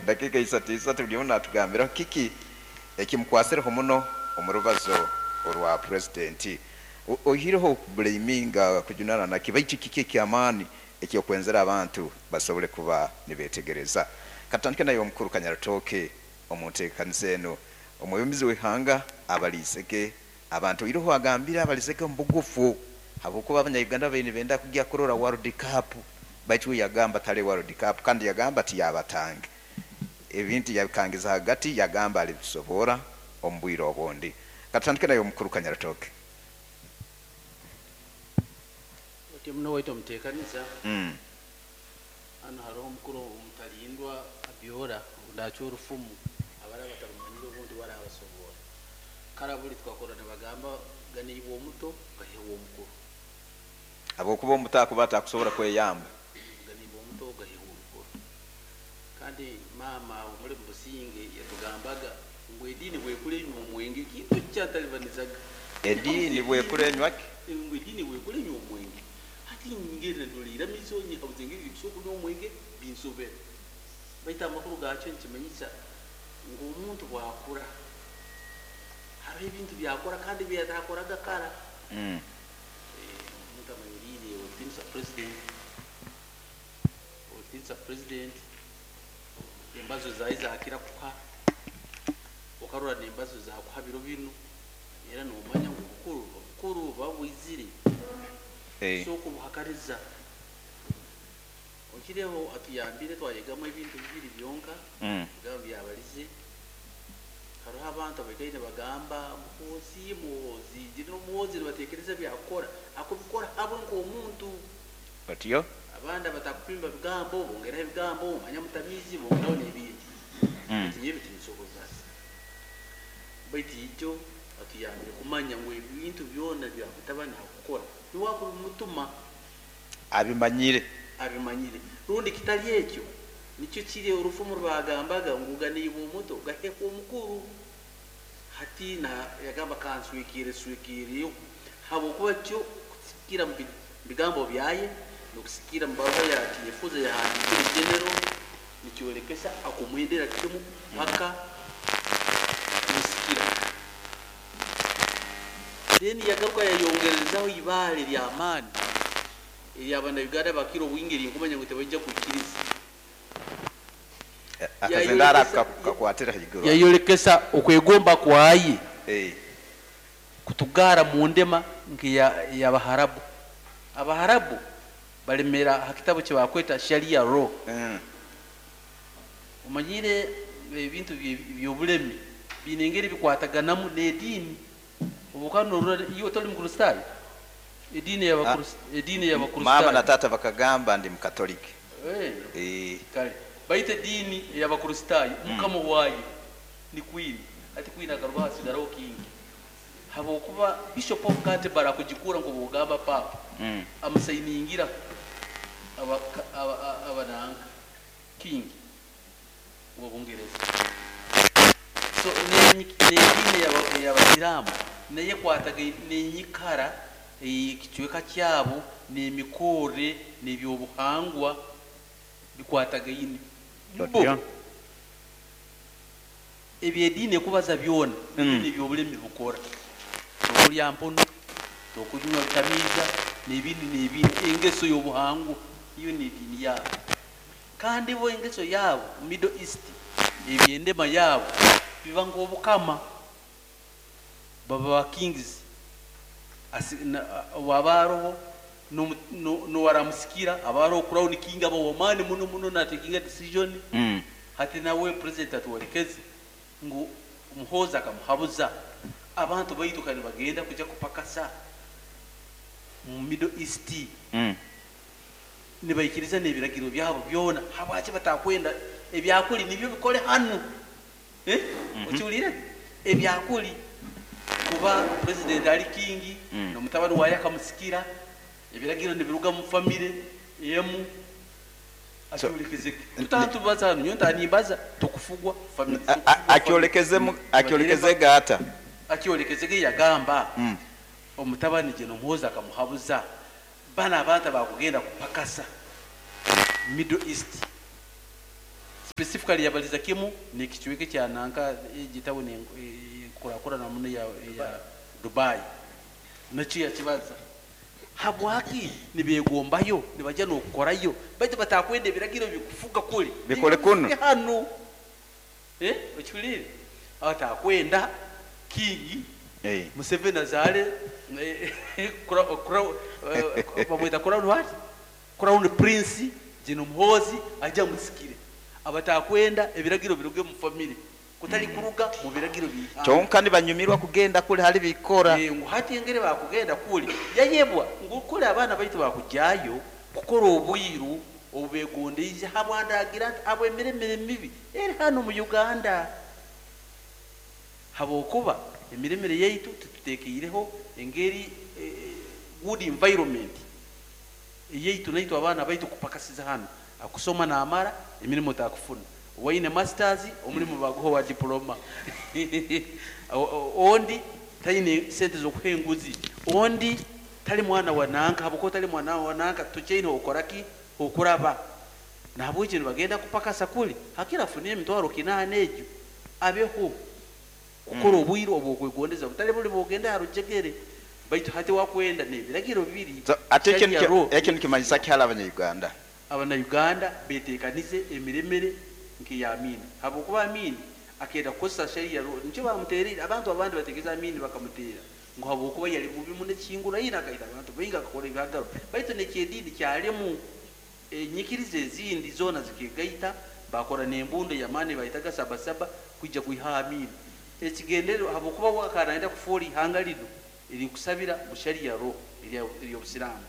Dakiika isatu isatu, buli omu natugambiraho kiki ekimukwasireho muno omu rubazo orwa purezidenti. Oihireho okublaminga, kujunana naki, baitu kiki ekyamaani ekyokwenzera abantu basobole kuba nibetegereza? Katutandike naye omukuru Kanyarutooke. Omu nteekaniza enu, omwebembezi w'ihanga abaliizege abantu, oihireho agambire abalizege omu bugufu, habwokuba Abanya-Uganda babaire nibenda kugya kurora World Cup, baitu we yagamba tale World Cup, kandi yagamba tiyabatange ebintu, yabikangiza hagati, yagamba alibisobora omu bwire obundi. Katutandike naye omukuru Kanyarutooke. Oti muno waitu omuteekaniza. Hanu haroho omukuru Omutalindwa Abyora, ndakya orufumu abara batarumanyire, obundi warabasobora. Kara buli twakora nibagamba ganiibwe omuto gahebwa omukuru. Habwokuba omuto akuba atakusobora kweyamba. Ganiibwe omuto gahebwa omukuru. Kandi maama omuli mubusinge yatugambaga ngu ediini bwekura enywa omwenge, ekintu eki kyantalibanizaga. Ediini bwekura enywa ki? Ngu ediini bwekura enywa omwenge. Hati ngenda ndora iramizo, nyehabuza engeri likusobola kunywa omwenge, binsobera. Baitu amakuru gakyo nikimanyisa ngu omuntu bwakura hariho ebintu byakora kandi byatakoraga kara. Omuntu amanyiriire otiinisa president, otiinisa president, embazo zaye zakira kuha, okarora nembazo zakuha biro binu, era nomanya ngu obukuru buba bwizire. So okubuhakaniza. Okireho atuyambire twayegamu ebintu bibiri byonka. Bigambo byabalize. Hariho abantu abaikaire nibagamba Muhoozi, Muhoozi, General Muhoozi, nibatekereza byakukora, akubikora habwe nk'omuntu. Otyo. Abandi abatakupimba bigambo bongeraho ebigambo, omanya mutamiizi, bongeraho n'ebindi. Baitu nyowe tinsoboza. Baitu ijo atuyambire kumanya ngu ebintu byona bya mutabani akukora niwe akubimutuma. Abimanyire. Abimanyire. Rundi kitali ekyo, nikyo kiri orufumu rwagambaga ngu ganiibwe omuto gahekwa omukuru. Hati na yagamba kanswekere swekereyo, habwokuba kyo kusikira mu bigambo byaye nokusikira mu baruha ya Tinyefuza yahandikire General, nikyolekesa akumwendera kimu paka kumusikira. Then yagaruka yayongerezaho ibaale ly'amaani ery'Abannayuganda bakira obwingi erinkumanya ngu tebaija kwikiriza. Akazindaro kakwatira haiguru. Yayolekesa okwegomba kwaye kutugara mu ndema nk'ey'Abaharabu. Abaharabu balemera ha kitabu kyebakweta Sharia law. Omanyire ebintu by'obulemi biine engeri bikwataganamu n'ediini. Obu norora iwe toli Mukristaayo? Ediini y'Abakristaayo. Maama na taata bakagamba ndi Mukatoliki. Kale baitu ediini ey'Abakristaayo mukama waayo ni queen. Hati queen akaruga hasigaraho king. Habwokuba Bishop of Canterbury akugikura nk'obwogamba Papa, amusainingira abananga king wa Bungereza. So n'ediini ey'Abasiraamu nayo ekwataga n'enyikara ekicweka kyabo n'emikorre n'ebyobuhangwa bikwatagaine. Bo ebyediini ekubaza byona ebyobulemi bukora. Tokulya mpono, tokunywa bitamiiza n'ebindi n'ebindi, engeso y'obuhangwa iyo n'ediini yaabo. Kandi bo engeso yaabo Middle East, ebyendema yaabo biba nk'obukama, baba ba kings. Waba haroho n'owaramusikira, aba haroho crown king, aba w'amaani muno muno natekinga decision. Hati nawe president atwolekeze ngu Muhoozi akamuhabuza abantu baitu kandi bagenda kujya kupakasa mu Middle East, nibaikiriza n'ebiragiro byabo byona, habwaki batakwenda ebyakuli nibyo bikole hanu? Okiwulire ebyakuli kuba president ali king, n'omutabani waye akamusikira, ebiragiro nibiruga mu famire emu. Akyolekezeke tutantubaza hanu, nyowe ntanimbaza tukufugwa family. Akyolekezege ata? Akyolekezege yagamba omutabani General Muhoozi akamuhabuza bana abantu abakugenda kupakasa Middle East. Specifically yabaliza kimu nekicweka kya nanka egitabu enkurakurana muno ya Dubai, nakyo yakibaza habwaki nibegombayo nibajya nokukorayo, baitu batakwenda ebiragiro bikufuga kuli Bikole kuno. Hanu okihulire, abatakwenda kingi. Museveni azale bamwita crown what? Crown prince Jino Muhozi ajja musikire, abatakwenda ebiragiro biruge mu family kutali kuruga mu biragiro bihanga. Kyonka nibanyumirwa kugenda kuli hali bikora. Ngu hati engeri bakugenda kuli yayebwa ngu kuli abaana baitu bakujayo kukora obwiru obubegondeize habwandagira nti abwemiremire mibi eri hano mu Uganda, habwokuba emiremire yaitu tututekeireho engeri good environment eyaitu naitu abaana baitu kupakasiza hano akusoma namara emirimu takufuna, waine masters omulimu baguha wa diploma, ondi taine sente zokuha enguzi, ondi tali mwana wa nanka, habwokuba tali mwana wa nanka tukyaine okoraki okuraba nahabwekyo nibagenda kupakasa kuli hakira afunire emitwaro 8 egyo abeho kukora obwire obwokwegondeza butali buli bwogenda harujegere, baitu hati wakwenda nebiragiro bibiri. So, ate ekyo nikimanyisa ki hali abanya-Uganda? Abanya-Uganda betekanize emiremere nk'eya Amini, habwokuba Amini akenda kukozesa sharia nikyo bamutereire abantu abandi bategeza Amini bakamutera ngu habwokuba yali bubi muno ekingura ina akaita abantu baingi akakora ebihagaro, baitu nekyediini kyalimu enyikiriza ezindi zoona zikegaita bakora n'embundo y'amaani bayitaga sabasaba kwijja kwiha Amini ekigendererwa, habwokuba wakanayenda kufuura ihanga lino erikusabira mu sharia law ery'obusiraamu,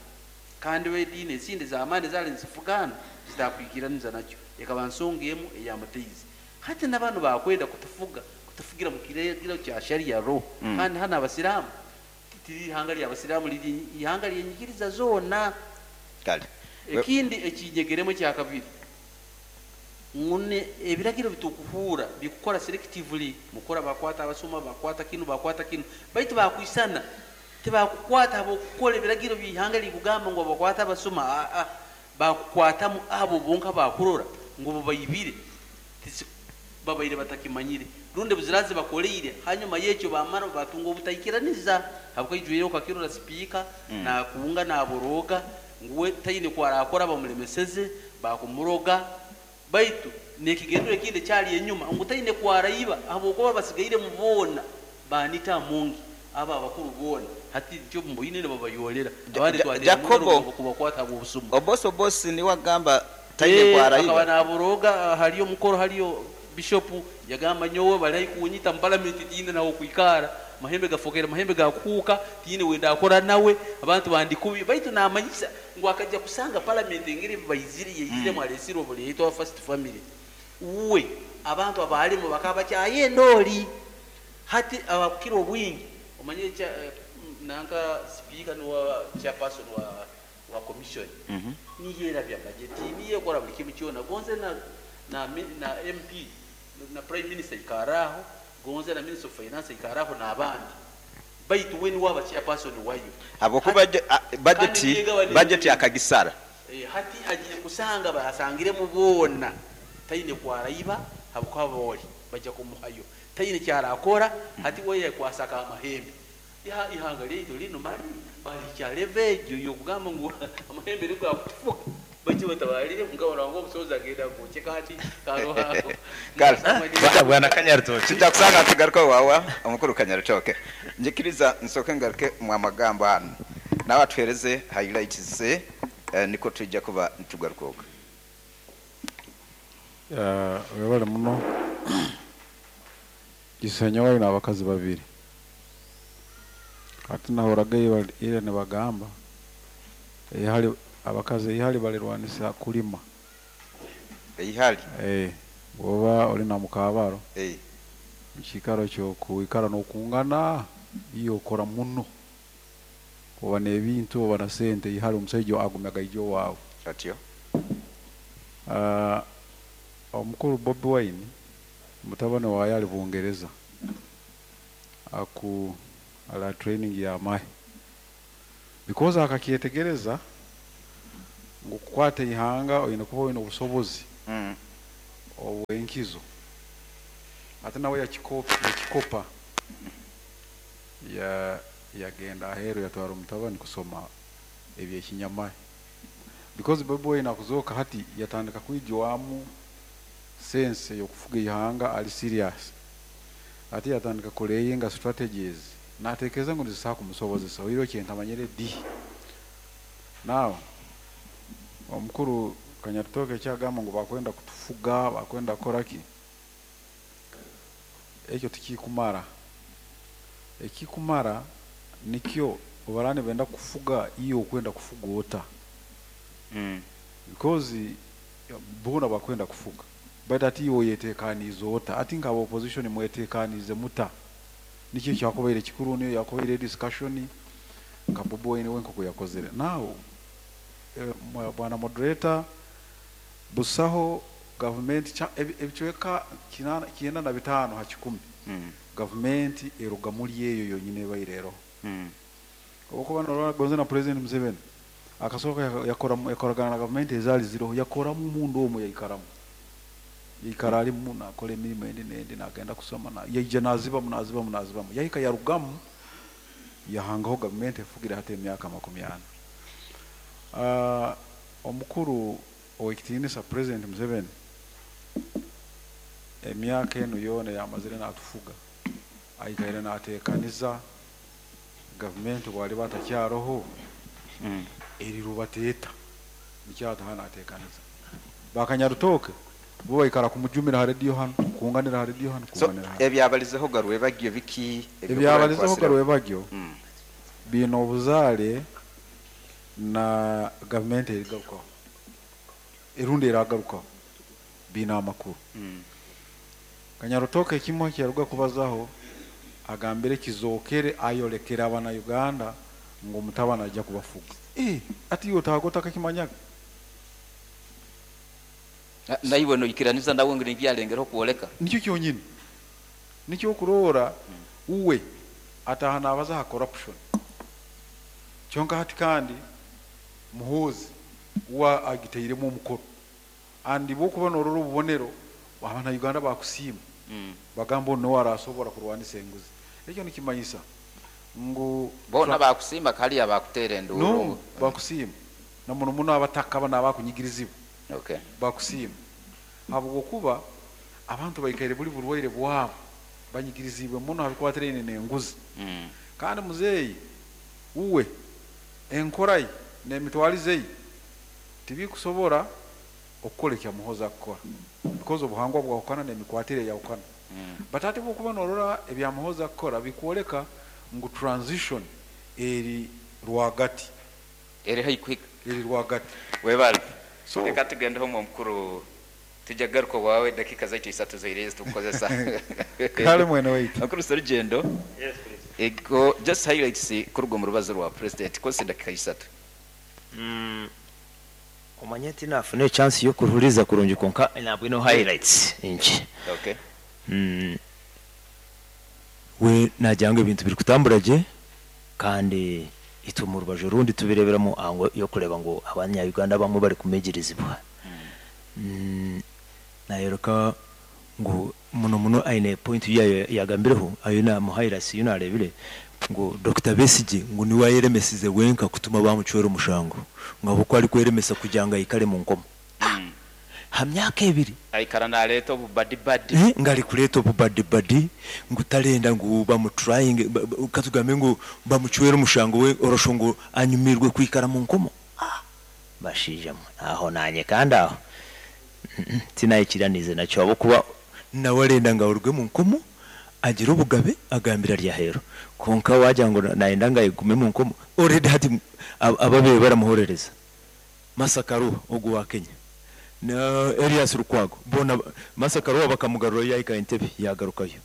kandi ediini ezindi z'amaani zaali nizifugana zitakwikiraniza nakyo, ekaba nsonga emu eyamuteize. Hati n'abantu bakwenda kutufuga kutufugira mu kiragiro kya sharia law, kandi hano abasiraamu tiri ihanga ly'abasiraamu liri ihanga lyenyikiriza zoona. Kale ekindi ekinyegeremu ekya kabiri ngune ebiragiro bitukuhura bikukora selectively, mukora bakwata abasoma bakwata kinu bakwata kinu, baitu bakwisana tibakukwata abokukora ebiragiro by'ihanga likugamba ngu bakwata abasoma, bakukwatamu abo bonka bakurora ngu babayibire babaire batakimanyire rundi buzirazi bakoleire, hanyuma yekyo bamara batunga obutaikiraniza habwaijwire okakirora speaker nakunga naboroga nguwe taine kwarakora bamulemeseze bakumuroga, baitu nekigendero ekindi kyali enyuma ngu taine kwaraiba habwokuba basigaire mu boona banita mungi aba abakuru boona hati nikyo mboine nibabayolera abandi twatera Jacobo, kubakwata obusuma. Obosi obosi niwe agamba taine kwaraiba akaba naboroga haliyo omukoro haliyo bishop yagamba nyowe bali kunyita mu parliament tine nawo kwikara mahembe gafokera mahembe gakuka tine wenda akora nawe abantu bandi kubi, baitu namanyisa ngu akajja kusanga parliament engeri bayiziri yeyizire mwalesiro buleetwa first family uwe abantu abalimu bakaba kyaye ndoli hati abakira obwingi omanye cha nanka speaker no chairperson wa commission niyera bya budget niye kora buli kimu kyona gonze na MP na prime minister ikaraho gonze na minister of finance ikaraho n'abandi baitu we niwe aba chairperson wayo habwokuba budget akagisara hati agiye kusanga basangire mu boona taine kwaraiba habwokuba boli bajja kumuhayo taine kyarakora hati we yakwasaka amahembe ihanga lyaitu lino mali bali kyalevejo yokugamba ngu amahembe nigwo akutufuga bajja batabalire mugabo wangu omusozi agenda kucheka hati karoha bwana Kanyaritoke kijja kusanga tugaruke wawa omukuru Kanyaritoke njikiriza nsoke ngaruke mu amagambo hano nawe atuhereze highlights ze niko tujja kuba nitugaruka. Webale muno Kisenya walina abakazi babiri ate nahoraga ira nibagamba ihali abakazi ihali balirwanisa kulima ihali bwoba oli na mukabaro mukikaro kyokuikara nokungana iyo okora muno oba n'ebintu oba na sente ihali omusajja agumyaga ijo waawe atyo. Omukuru Bobi Wine mutabani waye ali Bungereza aku ala training ya mahe because akakyetegereza ngu kukwata ihanga oyina kuba oyina obusobozi Owenkizo ate nawe yakikopa yagenda aheru, yatwara omutabani kusoma ebyekinyamahe, because Bobi Wine akuzooka hati yatandika kwijwamu sense yokufuga ihanga ali serious. Ate yatandika kulayinga strategies, natekereza ngu nizisobola kumusobozesa oiro kyentamanyire di. Now omukuru Kanyarutooke ekyagamba ngu bakwenda kutufuga, bakwenda kukora ki, ekyo tikikumara. Ekikumara nikyo obarani benda kufuga, iyo okwenda kufuga ota? Because bona bakwenda kufuga, but ati iwe oyetekaniize ota? Ati nkaba opposition mwetekaniize muta? Nikyo kyakubaire kikuru, niyo yakubaire discussion nka Bobi Wine we nkoko yakozere. Now bwana moderator, busaho gavumenti ebicweka 95 ha 100 gavumenti eruga muri eyo yonyine ebaireho. Obukuba norora gonze na President Museveni akasooka yakoragana na gavumenti ezaali ziroho, yakoramu mundu omwe, yaikaramu, yaikara alimu nakora emirimo endi nendi, nagenda kusoma, yaija nazibamu, nazibamu, nazibamu, yahika yarugamu, yahangaho gavumenti efugire hati emyaka 40. Omukuru owekitiinisa President Museveni emyaka enu yoona yamazire natufuga, aikaire nateekaniza gavumenti bwaliba atakyaroho erirubateeta, nikyo ataha nateekaniza. Bakanyarutooke bo baikara kumujumira ha rediyo hanu, kunganira ha rediyo hanu, So kunganira hanu. Ebyabalizeho garwebagyo biki? Ebyabalizeho garwebagyo biine obuzaare na gavumenti erigarukaho, erundi eragarukaho, biine amakuru. Kanyarutoke ekimwe kyaruga kubazaho, agambire kizookere ayolekere abana Uganda ngu omutabani ajja kubafuga. Ati iwe otahaga otakakimanyaga? Naiwe noikiraniza nawe ngu nibyo alengereho kwoleka? Nikyo kyonyini, nikyo okuroora uwe ataha nabaza ha corruption kyonka hati, kandi Muhoozi uwe agitairemu omukono, and bwokuba norora obubonero, abana Uganda bakusiima, bagamba onu niwe arasobora kurwanisa enguzi. Ekyo nikimanyisa ngu Bona bakusiima, kaliya bakuteera enduuru. No, bakusiima na muno muno abataka bano abakunyigirizibwa. Bakusiima habwokuba abantu baikaire buli burwaire bwabo, banyigirizibwe muno habikwatiraine n'enguzi. Kandi muzeeyi uwe enkora ye n'emitwarize ye tibikusobora okukora ekya Muhoozi akukora, because obuhangwa bwahukana n'emikwatire eyahukana. But ate bwokuba norora ebya Muhoozi akukora, bikwoleka ngu transition eri rwagati. Eri haihi kuhika. Eri rwagati. Webale. So reka tugendeho mu omukuru, tujja kugaruka waawe, dakika zaitu 3 zoireyo zitukukozesa. Kale mwene waitu. Omukuru Serugendo. Yes, please. Ego, just highlights kuruga omu rubazo rwa president, kozesa edakika 3. Omanye tinafuna echance yokuruhuriza kurungi, konka nabwino highlights nki. We nagira ngu ebintu biri kutambura gye, kandi itwe mu rubaju orundi tubireberamu ango yokureba ngu abanya-Uganda bamwe bari kumigirizibwa. Nayoreka ngu muno muno aine point yayo yagambireho ayo na highlights yo narebire ngu Dr. Besigye ngu niwe ayeremesize wenka kutuma bamucwera omushango, ngu ahabw'okuba ari kweremesa kugira ngu aikare mu nkomo ha myaka 2. Aikara naleeta obubadibadi. Nga ari kureeta obubadibadi, ngu tarenda ngu bamutrayinge, katugambe ngu bamucwere omushango we orosho ngu anyumirwe kwikara mu nkomo. Bashaija mwe, aho nanye kandi aho tinayikiranize nakyo, ahabw'okuba nawe arenda ngu aruge mu nkomo agire obugabe agambire ari aheeru, konka wagira ngu nayenda ngu agume mu nkomo already hati ababeire baramuhorereza Martha Karua ogu wa Kenya na Elias Lukwago bona. Martha Karua bakamugarurayo yahika Entebbe yagarukayo.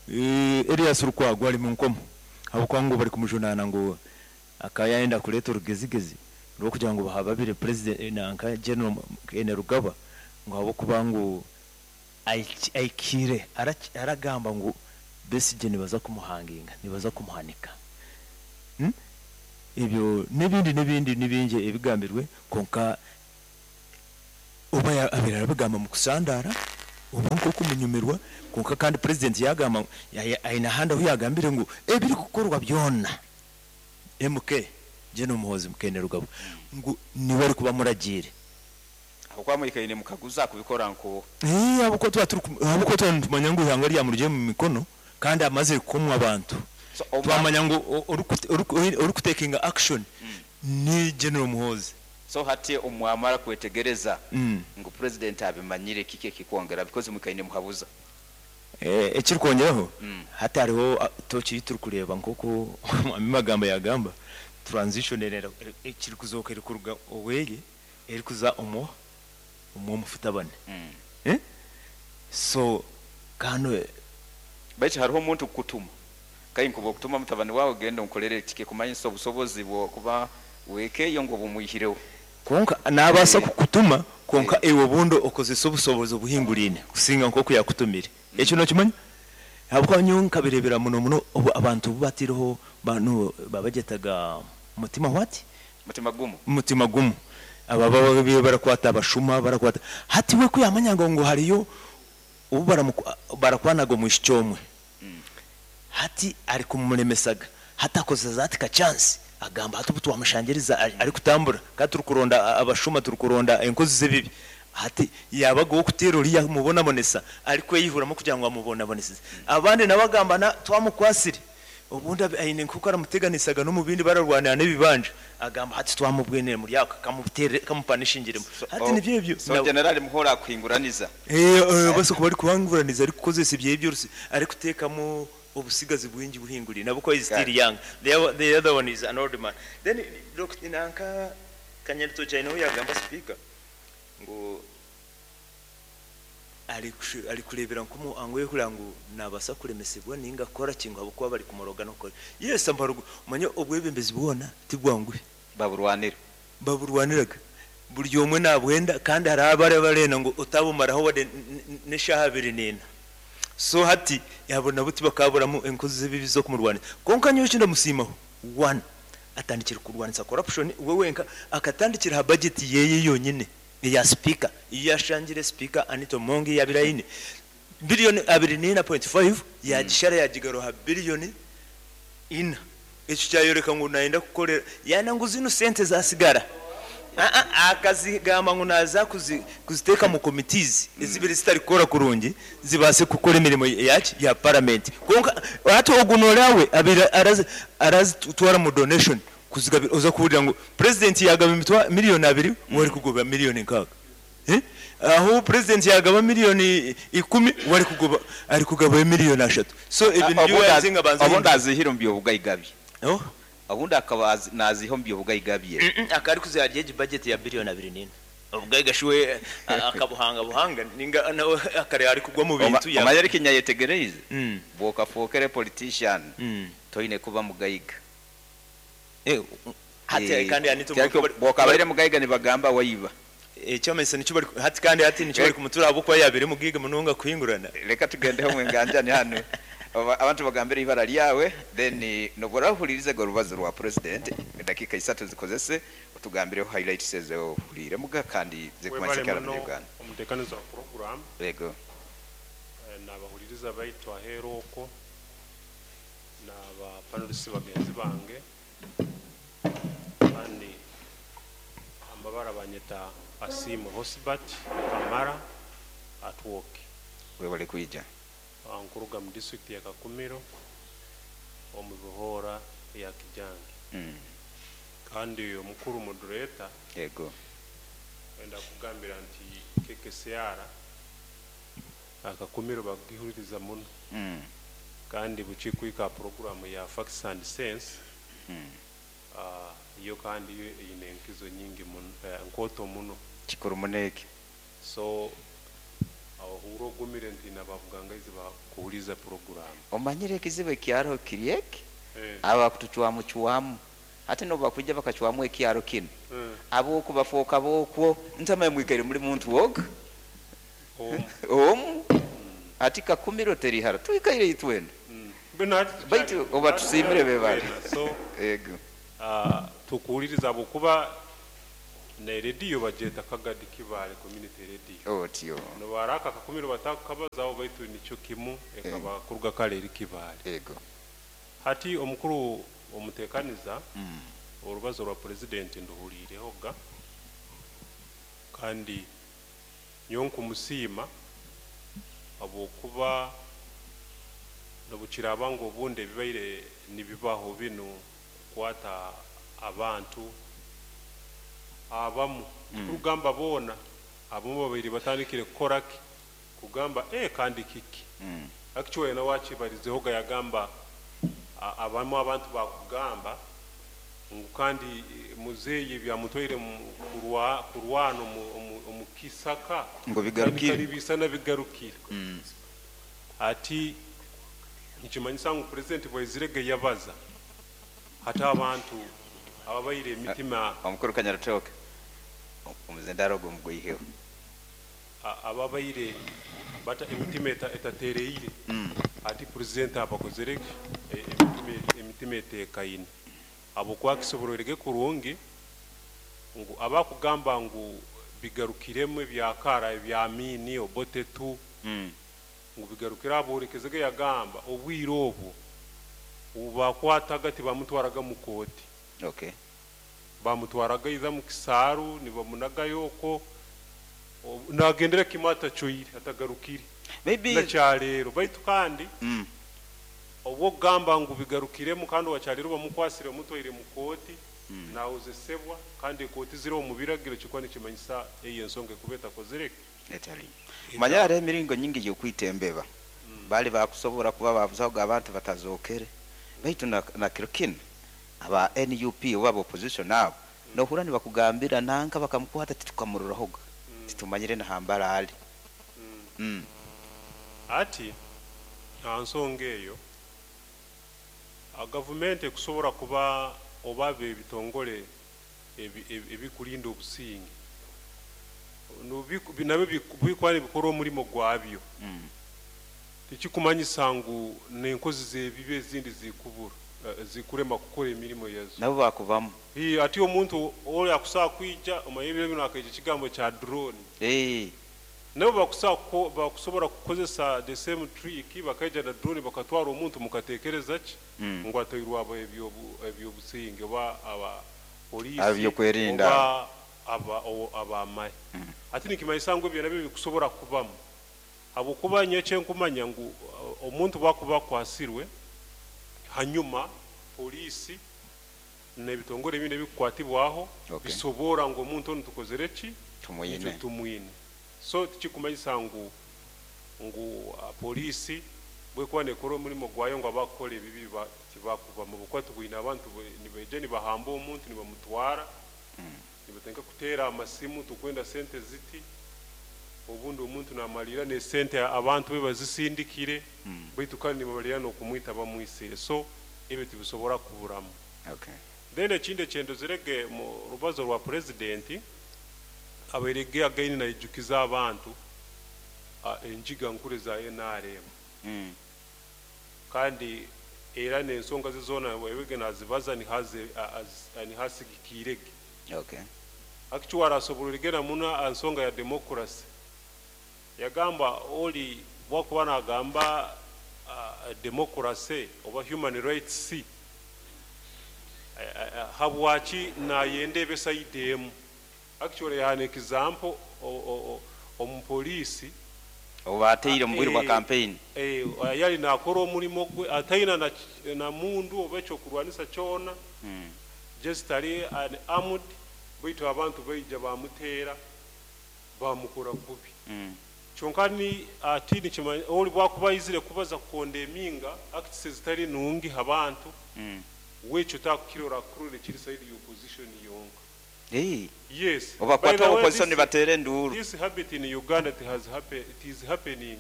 Elias Lukwago ari mu nkomo ahabw'okuba ngu bari kumujunaana ngu akaba yayenda kureeta orugezigezi rw'okugira ngu bahababire president nanka General Kainerugaba, ngu ahabw'okuba ngu aikiire aragamba ngu Besigye nibaza kumuhanginga, nibaza kumuhanika. Ebyo n'ebindi n'ebindi nibingi ebigambirwe, konka oba abeire arabigamba mu kusandara. nk'okumunyumirwa konka kandi president yagamba aine ahandi ahu yagambire ngu ebiri kukorwa byona MK General Muhoozi Kainerugaba ngu niwe ari kuba muragiire. Aho kwamwikaine mukaguza kubikora nko Ahabw'okuba tuba turi ahabw'okuba tuba nitumanya ngu ihanga ryamurugire mu mikono kandi amazire kukomwa abantu. So, Twamanya ngu orikutekinga action ni General Muhoozi. So hati omwamara kwetegereza ngu president abimanyire, kiki ekikwongera because mwikaine muhabuza? Ekirikwongeraho hati hariho toki turi kureeba nk'oku magambo yagamba transition ekiri kuzooka eri kuruga oweye eri kuza omwo omufutabane. So kano baitu hariho omuntu kukutuma kai nkuba okutuma mutabani wawe genda onkorere kike kumanyisa obusobozi bwo kuba wekeyo ngo bumwihireho. Konka nabasa kukutuma konka ewe obundi okozesa obusobozi obuhingurine kusinga nkoku yakutumire. Ekyo nokimanya? Habwokuba nyowe nkabirebera muno muno obu abantu batireho banu babagetaga mutima what? Mutima gumu. Mutima gumu. Aba baba barakwata abashuma barakwata. Hati we kuyamanya ngo hariyo ubu barakwanaga mu ishomwe. Hati ari kumulemesaga. Hati akozesa ati ka chance agamba hati ubu twamushangiriza ari kutambura kandi turi kuronda abashuma turi kuronda enkozi z'ebibi. Hati yabaga wo kutera uriya mubona bonesa ari kweyihuramo kugira ngo amubona bonesa. Abandi nabagambana twamukwasire ubundi aine nkuko aramuteganisaga no mu bindi bararwanira n'ibibanja agamba hati twamubwenere muri yako kamutere kamupanishingiremo. Hati nibyo ibyo. So general muhora kwinguraniza. Bose kuba ari kubanguraniza ari kukozesa ibyo byose ari kutekamo obusigazi bwingi buhinguri nabo is still young. The other one is an old man. Then look inanka kanyarito china yagamba speaker ngo ari kurebera nkumu angwe kurangu nabasa kuremesebwa ninga kora kingo abo kuba bari kumoroga no kora. Yes ambarugo manye obwebembezi bwona tibwangwe baburwanira baburwaniraga buri omwe nabwenda kandi hari abare barena ngo utabumaraho wade neshaha 24. So hati yabona buti bakaburamu enkozi z'ebibi zo kumurwanira konka nyowe kinda musimaho one atandikira kurwanisa corruption we wenka akatandikira ha budget yeye yonyine ya speaker yashangire speaker Anita Mongi ya birayine billion 24.5 yagishara yagigaroha billion 4. Ekyo cyayoreka ngo naenda kukorera yana ngo zino sente zasigara akazigamba ngo naza kuziteka mu committees ezibiri zitari kukora kurungi zibase kukora emirimo yaki ya parliament. Konka hati ogunorawe abira arazitwara mu donation kuzigabira oza kuburira ngo president yagaba imitwa miliyoni 2 wari kugoba miliyoni 6. Aho president yagaba miliyoni 10 wari kugoba ari kugaba miliyoni 3. So ibintu byo yazinga banza abundi azihira mbyo bugayigabye. Abundi akaba naziho mbyo bugayigabye. Akari kuzarye budget ya biliyoni 24. Ubwayigashiwe akabuhanga buhanga ninga nawe akare ari kugwa mu bintu ya. Amayeri kinyayetegereze. Boka fokere politician. Toine kuba mugayiga. Hati kandi anito boka bare mugayiga nibagamba wayiba. Cyomese nicyo bari hati kandi hati nicyo bari kumutura abo kwa yabere mugiga munonga kuhingurana. Reka tugendeho mwenganjani hano. Abantu bagambira ibara ryawe then nobora go rubazo rwa president dakika 3 zikozese utugambireho highlights zezo hulire muga kandi zekumanyikara mu Uganda. Omutekanizo wa program. Yego. Nabahuliriza baitwa heroko naba panelists bagenzi bange kandi ambabara banyeta Asimu Hosbat Kamara at work. Webale kuija. Nkuruga mu district ya Kakumiro omu Buhora ya Kijange. Kandi omukuru moderator yego wenda kugambira nti KKCR Akakumiro bagihuririza muno. Kandi buchikwika program ya Facts and Sense. Iyo kandi ine enkizo nyingi nkoto muno kikuru muneke. So ahuro gumire nti nabavugangaizi bakuhuliza program. Omanyire kizibe kyaro kirieke aba kutuchwamu chwamu ate no bakujja bakachwamu ekyaro kino abo kubafoka bokwo ntama mwikaire muri muntu wog ati Kakumiro terihara tuikaire itwenda baitu oba tusimire bebali. So ego tukuuliriza bukuba Na rediyo bagyeta Kagadi Kibaale Community Radio. Otyo. Nobaraka akakumiro batakabazaho, baitu nikyo kimu ekaba kuruga kale eri Kibaale. Ego. Hati omukuru omutekaniza, orubazo rwa purezidenti nduhuliireho ga, kandi nyowe nkumusiima habwokuba nobukiraaba ngu obundi ebibaire nibibaho binu kukwata abantu abamu, kurugamba boona, abamu babaire batandikire kukora ki, kugamba kandi kiki. Actually nawe akibarizeho ga, yagamba abamu abantu bakugamba ngu kandi muzeeyi byamutwaire kurwana omu kisaka ngo bigarukire. Kandi bisana bigarukire. Ati nikimanyisa ngu purezidenti bwaizirege yabaza hati abantu ababaire emitima. Omukuru Kanyarutooke, omuzendaro ogwo mugwiheho. Ababaire bata emitima etatereire, ati purezidenti abakozere emitima etekaine, habwokuba akisobororege kurungi ngu abakugamba ngu bigarukiremu ebyakara ebya Amini, Obote tu, ngu bigarukire, aborekezege yagamba obwire obwo obubakwataga tibamutwaraga mu kooti. Bamutwaraga iza mu kisaaru, nibamunagayo okwo, nagendera kimwe atacoire, atagarukire. Maybe nakyaleero baitu kandi obwokugamba ngu bigarukiremu, kandi wakyaleero bamukwasire bamutwaire mu kooti, nawozesebwa, kandi ekooti ziri omu biragiro, kikuba nikimanyisa eyo ensonga ekuba etakozire. Etali manya hariho emiringo nyingi y'okwita embeba. Bali bakusobora kuba babuzahoga abantu batazokere, baitu na kiro kinu aba NUP oba aba opposition abo nohura nibakugambira nanka bakamukwata titukamururahoga, titumanyire nahambara ali. Ati aha nsonga eyo, gavumenti ekusobora kuba oba ebitongole ebikurinda obusinge nabyo bikuba nibikora omurimo gwabyo, tikikumanyisa ngu n'enkozi z'ebibi ezindi zikubura, zikurema kukora emirimo yazo. Nabo bakuvamu. Ati omuntu oli akusobola kwija omanye ebiro binu akaija ekigambo kya drone. Nabo bakusobora kukozesa the same trick, bakaija na drone bakatwara omuntu, mukatekereza ki? Ngu atairwe abo ebyobusinge oba aba polisi. Ab'ebyokwerinda. Oba abamahe. Ati nikimanyisa ngu ebyo nabyo bikusobora kubamu, habwokuba nyowe ekyenkumanya ngu omuntu bwakuba akwasirwe, hanyuma polisi n'ebitongole ebindi ebikukwatibwaho bisobora ngu omuntu onu tukozere ki? Tumwine. Nikyo tumwine. So tikikumanyisa ngu polisi bwekuba nekora omurimo gwayo ngu abakukora ebibi tibakubamu, bukuba tubwine abantu nibaija nibahamba omuntu nibamutwara, nibatandika kuteera amasimu, tukwenda sente ziti, obundi omuntu namalira nesente abantu be bazisindikire, baitu kandi nibamalira n'okumwita bamwisire. So ebyo tibisobora kuburamu. Then ekindi ekyendozerege mu rubazo rwa purezidenti, abairege againi naijukiza abantu enjiga nkuru za NRM. Kandi era n'ensonga ze zoona webege nazibaza nihasigikirege. Actually arasobororege muno ensonga ya democracy. Yagamba oli bwakuba nagamba democracy oba human rights, habwaki nayenda ebe side emu. Actually yahana example omupoliisi oba ateire mu bwire bwa campaign. Yali nakora omurimo gwe ataina na mundu oba ekyokurwanisa kyona, just ali unarmed, baitu abantu baija bamuteera bamukora kubi. Kyonka ni ati nikimanya oli bwakuba aizire kubaza kukonda eminga acts zitari nungi abantu, wekyo takukirora kurure kiri side ya opposition yonka. Yes. Oba By the kwata way, opposition nibateera enduuru. This habit in Uganda, it has happened, it is happening.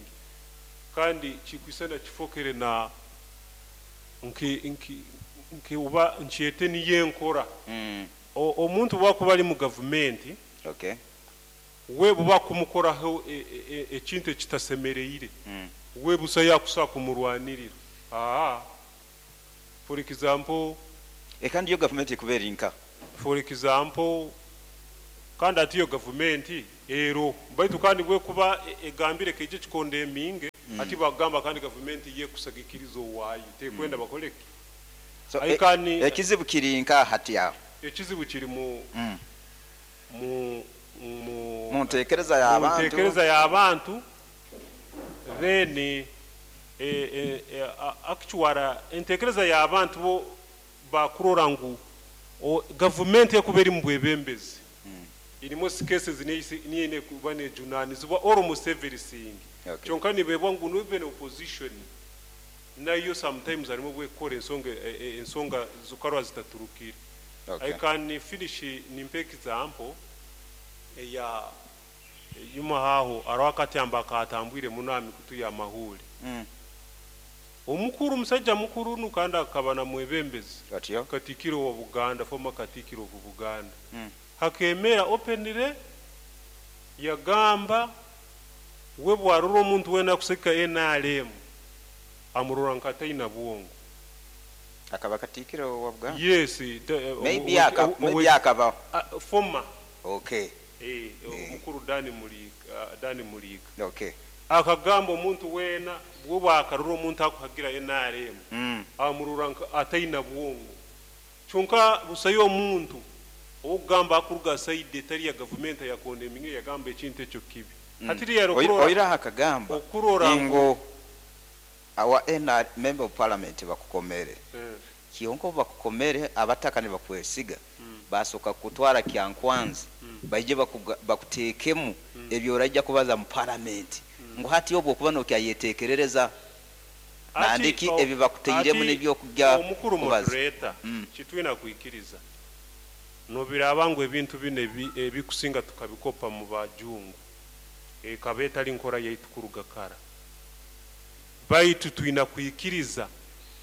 Kandi kikwisana kifokere na nki nki nki uba nkyete niye nkora. Omuntu bwakuba ali mu gavumenti, we buba kumukoraho ekintu ekitasemereire, we busa yakusa kumurwanirira. For example, Kandi yo gavumenti ekubeera inka. For example, Kandi ati iyo gavumenti ero baitu kandi bwekuba egambire keije kikondeminge ati bagamba kandi gavumenti yekusagikiriza owaayo tekwenda bakoleki. So, Aikani ekizibu kiri nka hati aho. Ekizibu kiri mu mu mu Mu ntekereza y'abantu. Mu ntekereza y'abantu, then actually entekereza y'abantu bo bakurora ngu gavumenti ekuba eri mu bwebembezi irimu cases niine kuba nejunanizibwa almost everything. Kyonka nibebwa ngu even opposition nayo sometimes harimo bwekora ensonga zukarwa zitaturukire. I can finish nimpe example ya yuma haho arawakatyamba akatambwire munami kutuya amahuri. Omukuru musajja mukuru nukanda akaba na mwebembezi. Atyo. Katikiro wa Buganda, former Katikiro wa Buganda. Hakemera openire yagamba we bwarura omuntu wena kuseka NRM amurora nkataina bwongo. Akaba Katikiro wa Buganda? Yes, Maybe maybe akaba. Former. Omukuru Dani Mulika, Dani Mulika. Akagamba omuntu wena bwoba akarura omuntu akuhagira NRM. Amurora ataina bwongo. Kyonka busayo omuntu ogamba akuruga side etari ya government ya kondeminge yagamba ekintu ekyo kibi. Hatiri ya rokurora. Oira akagamba okurora ngo awa NR member of parliament bakukomere. Kionko bakukomere abataka ne bakwesiga. Basoka kutwara Kyankwanzi. Baije bakutekemu ebyo orajja kubaza mu parliament. Ngo hati obwo kuba no kyayetekerereza. Nandiki ebi bakuteiremu n'ebyo kujya omukuru moderator kitwina kuikiriza. Nobiraba ngo ebintu bine ebikusinga tukabikopa mu bajungu. Kabeta linkora yaitukuruga kara. Baitu twina kuikiriza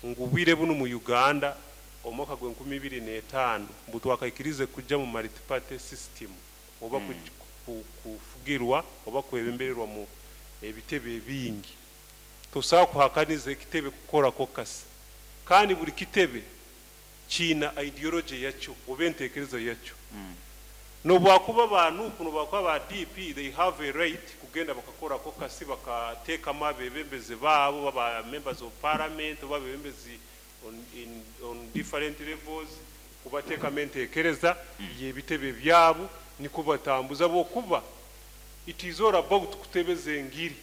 ngubwire bunu mu Uganda omwaka gwe 2005 mbutu akaikirize kujja mu multi-party system oba kufugirwa oba kwebembererwa mu ebitebe ebingi. Tosobola kuhakaniza ekitebe kukora kokasi. Kandi buli kitebe kina ideology yakyo oba entekereza yakyo. Nobwakuba ba NUP nobwakuba ba DP they have a right kugenda bakakora kokasi bakateekamu abebembezi baabo baba members of parliament oba abebembezi on different levels kubateekamu entekereza y'ebitebe byabo niko batambuza bokuba it is all about kutebeza engiri.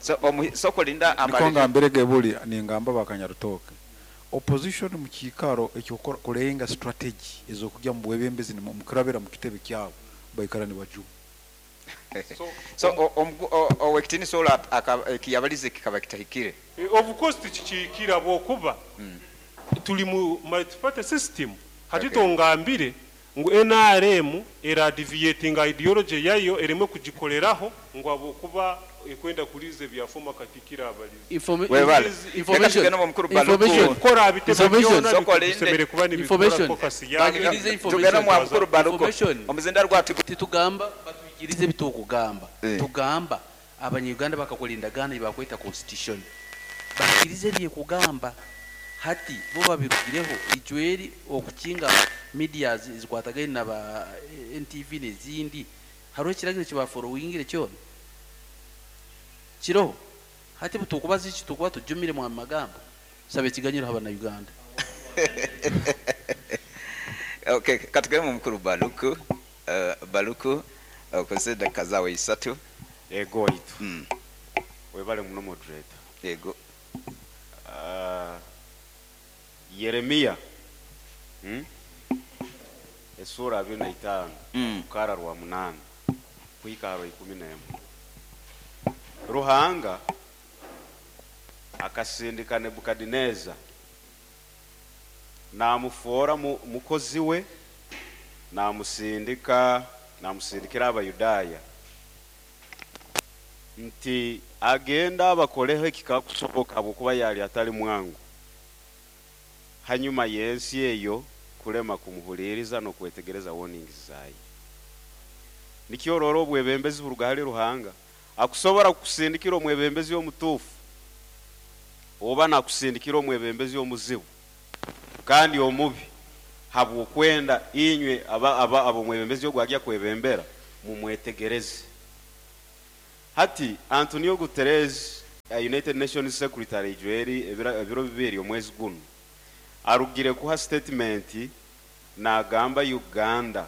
So sokolinda amali niko ngambirege buli ningamba bakanyarutoke opposition mu kikaro ekyo kulenga strategy ezokujya mu bwebembezi mukurabira mu kitebe kyabo baikara ni baju. So owekitini sola akiyabalize kikaba kitahikire. Of course tikikira bokuba tuli mu multi-party system. Hati tongambire ngu NRM era deviating ideology yayo ereme kugikoleraho ngo abokuba ekwenda kulize byafoma katikira abalizi. Information titugamba batwikirize bitukugamba tugamba abanyuganda bakakola endagaano bakweta constitution bakirize byekugamba hati bo babirugireho ijweri okukinga media zikwatagaine na ba NTV n'ezindi hariho ekiragiro kibaforowingire kyona kiroho hati butukubaza iki tukuba tujumire mu magambo sabe ekiganyiro haba na Uganda. Okay, katugere mukuru Baluku Baluku okoze dakika zawe isatu. Ego itu webale muno moderator. Ego Yeremia esura 25 mukara rwa 8 kuikaro 11 Ruhanga akasindika Nebukadineza namufora mukozi we namusindikira Abayudaya nti agenda abakoleho ekikakusoboka bwokuba yali atali mwangu hanyuma yensi eyo kulema kumuhuliriza no kwetegereza warnings zayi. Nikyororo obwebembezi buruga hali Ruhanga akusobora kukusindikira omwebembezi omutuufu oba nakusindikira omwebembezi omuzibu kandi omubi Habw'okwenda inywe ab'omwebembezi ogu agya kwebembera mumwetegereze. Hati Antonio Guterres, United Nations Secretary, ijweri ebiro 2 omwezi guno arugire kuha statement nagamba Uganda,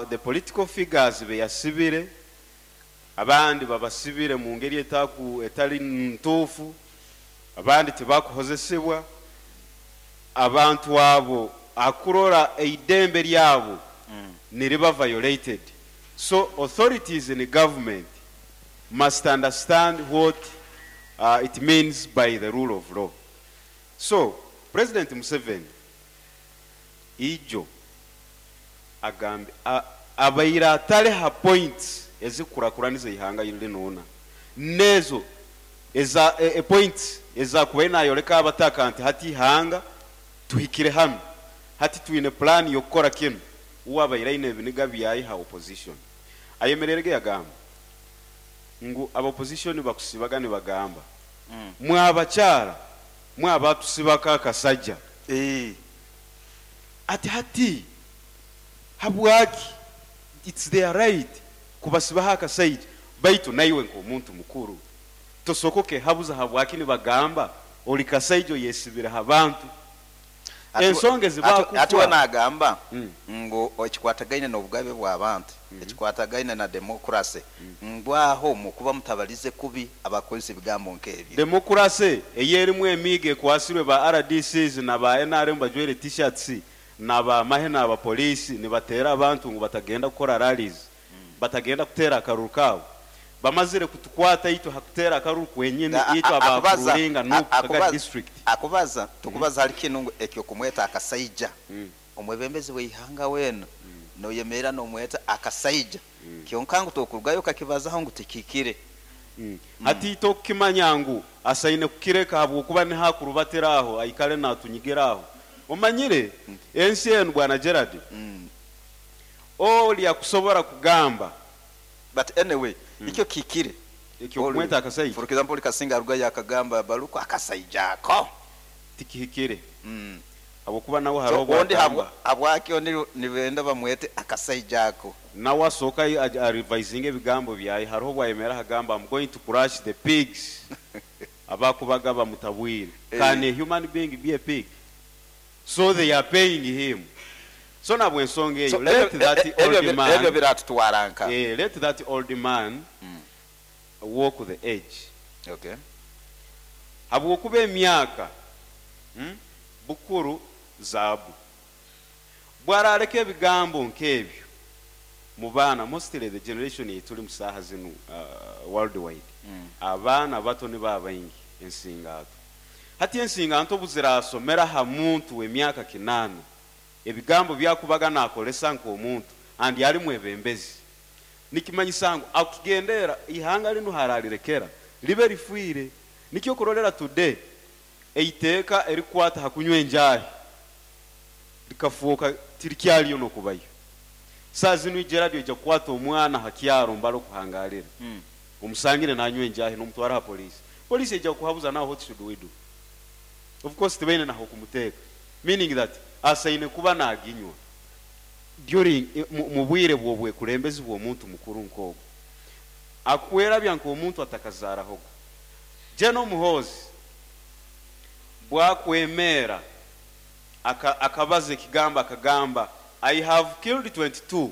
the political figures beyasibire, abandi babasibire mu ngeri etali ntuufu, abandi tibakuhozesebwa, abantu abo akurora eidembe lyabo niriba violated. So authorities in the government must understand what it means by the rule of law. So President Museveni ijo agambe abaira atale ha points ezikurakuraniza ihanga linona nezo eza points eza kuba nayoleka abataka nti hati ihanga tuhikire hano, hati twine plan yokukora kino. Uwabaira ine ebiniga byayi ha opposition ayemererege yagamba ngu aba opposition bakusibaga ne bagamba mwabakyala mwabatusibaka akasajja. Ati hati habwaki it's their right kubasibaho akasajja, baitu naiwe nk'omuntu mukuru tosokoke habuza habwaki nibagamba oli kasajja oyesibire abantu. Ensonga ezibakufa. Ati we nagamba ngu ekikwatagaine n'obugabe bw'abantu, ekikwatagaine na demokrasi, ngwaho mukuba mutabalize kubi abakozesa ebigambo nk'ebyo. Demokrasi eyerimu emiiga ekwasirwe ba RDCs na ba NRM bajwaire t-shirts na ba mahe na ba polisi nibatera abantu ngu batagenda kukora rallies, batagenda kutera akaruru kabo. Bamazire kutukwata itwe hakutera akaruru kwenyine itwe abakuringa no district. Akubaza tukubaza hali kinu ngu ekyo kumweta akasaija. Omwebembezi w'ihanga wena noyemera nomweta akasaija. Kyonka ngu tokurugayo kakibazaho ngu tikikire. Hati tokimanya ngu asaine kukireka habwokuba ni hakurubateraho aikale natunyigeraho. Omanyire ensi enu bwana Gerard. Oli akusobora kugamba. But anyway, ikyo kikire. Ekyo kumweta akasaija. For example, Kasinga arugayo akagamba baluko akasaija ako. Tikihikire. Habwokuba nawe hariho obwakamba. Habwaki nibenda bamwete akasaija ako. Nawe asooka revising ebigambo byaye, hariho obwayemera agamba I'm going to crush the pigs. Abakubaga bamutabwire. Can a human being be a pig? So they are paying him. So nabwo ensonga eyo, let that old man, ebyo biratutwaranka. Let that old man walk the edge. Okay. Habwokuba emyaka bukuru zaabu. Bwarareka ebigambo nk'ebyo mu baana, mostly the generation etuli mu saaha zinu worldwide. Abaana bato ni babaingi ensingato. Hati ensinganto buzirasomera ha muntu w'emyaka 8. Ebigambo byakubaga nakolesa nk'omuntu andi ali mwebembezi. Nikimanyisa ngu akugendera ihanga linu haralirekera libe lifuire. Nikyo kurolera today eiteeka erikwata hakunywa enjahi likafuuka tirikyaliyo nokubayo. Saa zinu Gerard ojja kukwata omwana hakyaro mbalo kuhangalira. Omusangire nanywa enjahi n'omutwara ha polisi. Polisi ejja kuhabuza naho what should we do? Of course tibaine naho kumuteeka. Meaning that asaine kuba naginywa during mu bwire bwobwe kulembezi bw'omuntu mukuru nk'ogwo. Akwerabya nk'omuntu atakazarahogo. Jeno Muhoozi bwakwemera akabaza ekigamba akagamba I have killed 22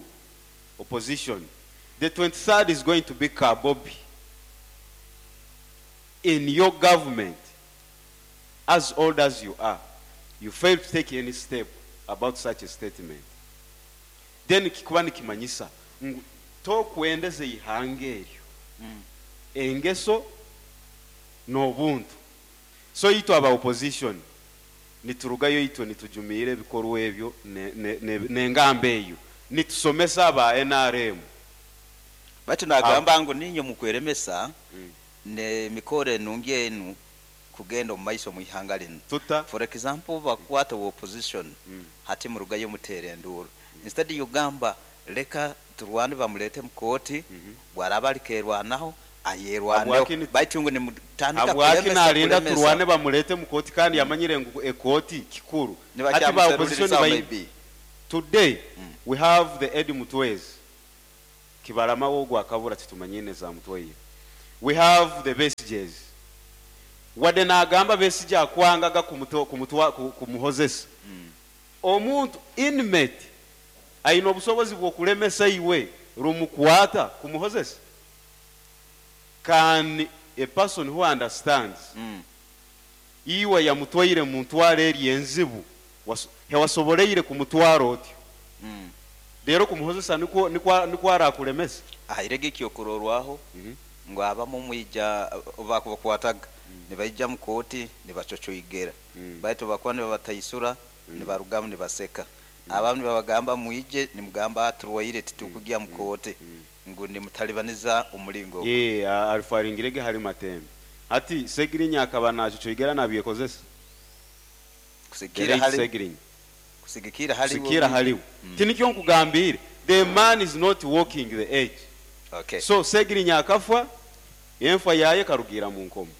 opposition. The 23rd is going to be Kabobi. In your government, as old as you are, you fail to take any step about such a statement. Then kikuba nikimanyisa ngu tokwendeze ihanga eryo. Engeso n'obuntu. So itwe aba opposition niturugayo itwe nitujumiire ebikorwa ebyo n'engamba eyo nitusomesa aba NRM. Batu nagamba ngu ninyo mukweremesa ne mikore enungi enu kugenda omu maiso mu ihanga lino. Tuta. For example, bakwata opposition hati murugayo mutere enduuru. Instead yugamba leka turwane bamulete mu kooti, bwaraba alikerwanaho Ayerwaneho baitu ngu nimutandika Habwaki kulemesa nalinda kulemesa. turwane bamulete mu kooti kandi yamanyire ngu ekooti kikuru? Hati ba opposition Nibakyamuserulirizaho maybe. Today we have the Eddie Mutwezi Kibarama wogwo akabura, titumanyine za Mutwaire. We have the Besigyes, wadde nagamba Besigye akwangaga kumuhozesa. Omuntu inmate aine obusobozi bw'okulemesa iwe rumukwata kumuhozesa? Can a person who understands iwe yamutwaire mu ntwaro eri enzibu, hewasoboleire kumutwara otyo, rero kumuhozesa nikwo arakulemesa? Ahirege ekyokurorwaho ngu abamu mwija bakubakwataga nibaija mu kooti nibacocoigera, baitu bakuba nibabataisura nibarugamu nibaseka. Abamu nibabagamba mwije, nimugamba turwaire titukugya mu kooti, ngu nimutalibaniza omulingo ogwo. Ye alifaringirege hali Matembe. Hati Segirinya akaba nacocoigera nabyekozesa. Kusigikira Derek hali Segirinya. Kusigikira hali Kusigikira haliwe. Tinikyo nkugambire, the man is not walking the edge. So Segirinya akafa, enfa yaye karugira mu nkomo.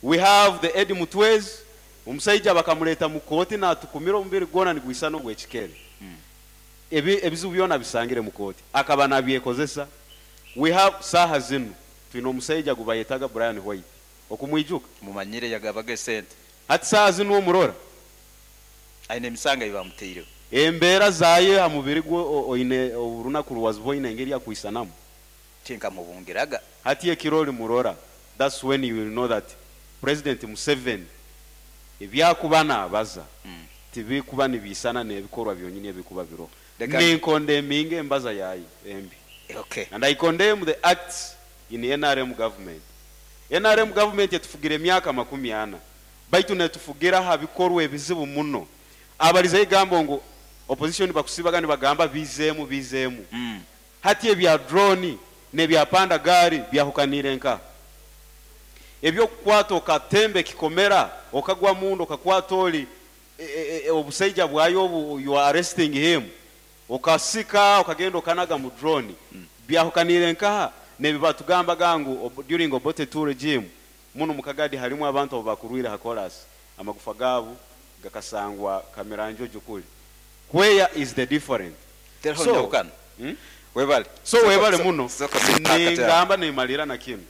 We have the Eddie Mutwezi, omusaija bakamuleta mu kooti natukumira omubiri gwona nigwisana ogw'ekikere. Ebizibu byona bisangire mu kooti, akaba nabyekozesa. We have saha zinu twine omusaija gubayetaga Brian White, okumwijuka? Mumanyire, yagabaga esente. Hati saha zinu omurora aine emisanga ebamuteireho. Embeera zaye ha mubiri gwe oine orunaku rwaziboine engeri akwisanamu. Tinkamubungiraga. Hati ekiro olimurora, that's when you will know that President Museveni ebyakuba nabaza tibikuba nibiisana n'ebikorwa byonyini ebikuba biroho. Reka Ninkondeminga embaza yaye embi. And I condemn the acts in NRM government. NRM government etufugira emyaka 40, baitu netufugira ha bikorwa ebizibu muno. Abaliza egambo ngu opposition bakusibaga nibagamba bizeemu bizeemu. Hati ebya drone n'ebya panda gari byahukanire nka ebyokukwata okatembe kikomera okagwa mundu okakwata oli obusaija bwayo obu, you are arresting him, okasika okagenda okanaga mu drone. Byahukanire nkaha nebi batugambaga ngu during Obote II regime muno mukagadi harimu abantu abo bakurwire ha chorus, amagufa gaabo gakasangwa Kamiranjojo kuli. Where is the difference? Teraho njawukana. Webale. So webale muno. Soko mipaka tera. Ningamba nimalira na kinu,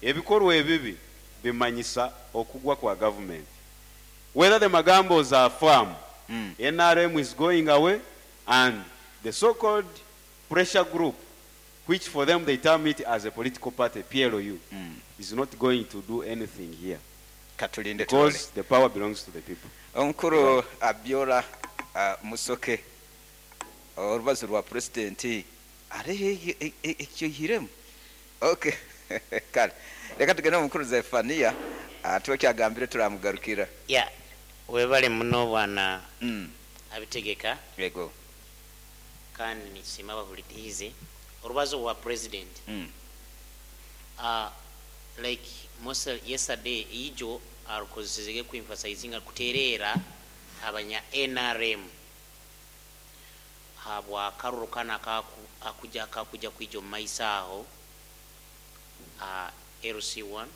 ebikorwa ebibi bimanyisa okugwa kwa government. Whether the magambos are firm, NRM is going away, and the so-called pressure group, which for them they term it as a political party, PLU, is not going to do anything here. Katulinde Because tulole. the power belongs to the people. Omukuru Abiola Musoke, orubazo rwa president ari ekyohiremu. Okay. Kale reka tugende omukuru Zefania, tuwe kyagambire turamugarukira. Ya, webale muno bwana abitegeka. Yego. Kandi nisima bahulitize orubazo rwa president. Like most yesterday ijo arukozesege ku emphasizing kuterera abanya NRM habwa karuru kana akuja kakuja kwijo maisa aho, LC1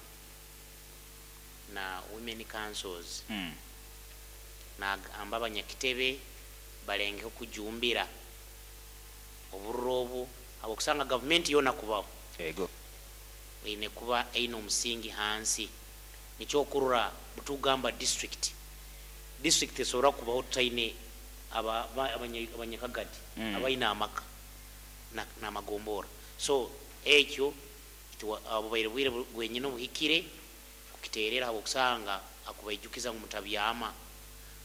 na women councils. Na amba abanyakitebe balenge kujumbira oburobu abo kusanga government yona kubaho. Yego. Ine kuba aino omusingi hansi nikyokurura butugamba district. District esobora kubaho tutaine abanyakagadi, abaina amaka na magombora. So ekyo obubaire bwire bwenyine obuhikire kukiterera abo kusanga akubaijukiza ngu mutabyama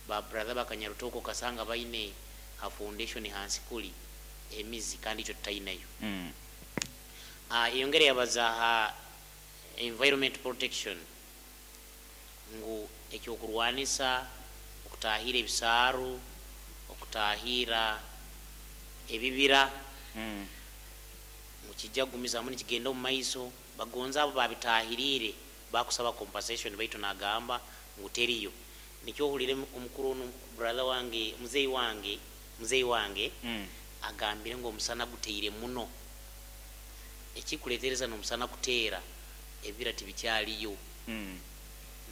ba brother bakanyarutoko kasanga baine ha foundation hansi kuli emizi kandi icho tutainayo. Yongere yabaza ha environment protection ngu ekyokurwanisa okutahira ebisaaru, okutahira ebibira, mukijja kugumizamu nikigenda omu maiso. Bagonza abo babitahirire bakusaba compensation, baitu nagamba ngu teriyo. Nikyo ohulire omukuru ono brother wange, muzeyi wange, muzeyi wange, agambire ngu omusana guteire muno. Ekikuletereza n'omusana kuteera, ebibira tibikyaliyo,